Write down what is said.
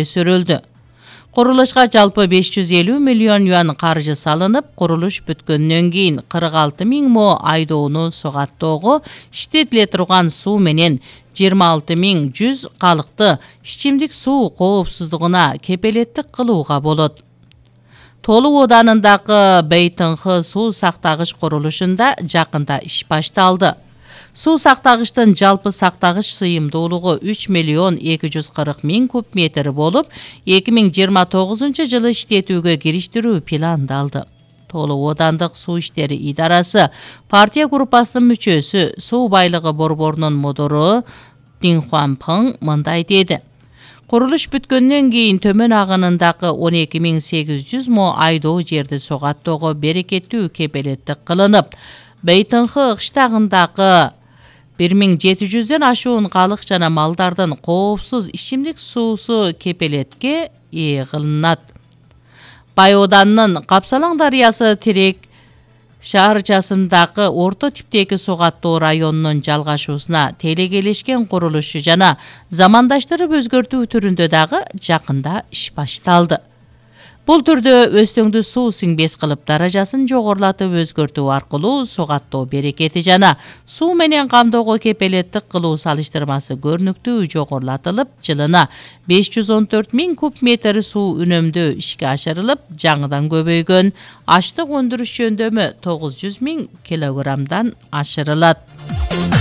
сүрүлдү. Курулушка жалпы 550 миллион юан каржы салынып, курулуш бүткөндөн кийин 46 000 мо айдоону согаттоого иштетиле турган суу менен 26 100 калыкты ичимдик суу коопсуздугуна кепелеттик кылууга болот. Толук Оданындагы Бейтынхы суу сактагыч курулушунда жакында иш башталды. Суу сактагычтын жалпы сактагыч сыйымдуулугу 3 миллион 240 000 куб метр болуп, 2029 жылы иштетүүгө кириштирүү пландалды. Толук Одандык суу иштери идарасы партия группасынын мүчөсү, суу байлыгы борборунун модору Дин Хуанпын мындай деди. Курулуш бүткөндөн кийин төмөн агынындагы 12 800 мо айдоо жерди согаттоого берекеттүү кепелеттик кылынып, Бейтынхы кыштагындагы 1700дөн ашуун калык жана малдардын коопсуз ичимдик суусу кепелетке ээ кылынат. Бай Оданынын Капсалаң дарыясы Терек шаарчасындагы орто типтеги согаттоо районунун жалгашуусуна телекелешкен курулушу жана замандаштырып өзгөртүү түрүндө дагы жакында иш башталды. Бул түрдө өстөңдү суу сиңбес кылып даражасын жогорулатып өзгөртүү аркылуу согаттоо берекети жана суу менен камдоого кепелеттик кылуу салыштырмасы көрүнүктүү жогорулатылып, жылына 514 000 куб метр суу үнөмдөө ишке ашырылып, жаңыдан көбөйгөн аштык өндүрүш жөндөмү 900 000 килограммдан ашырылат.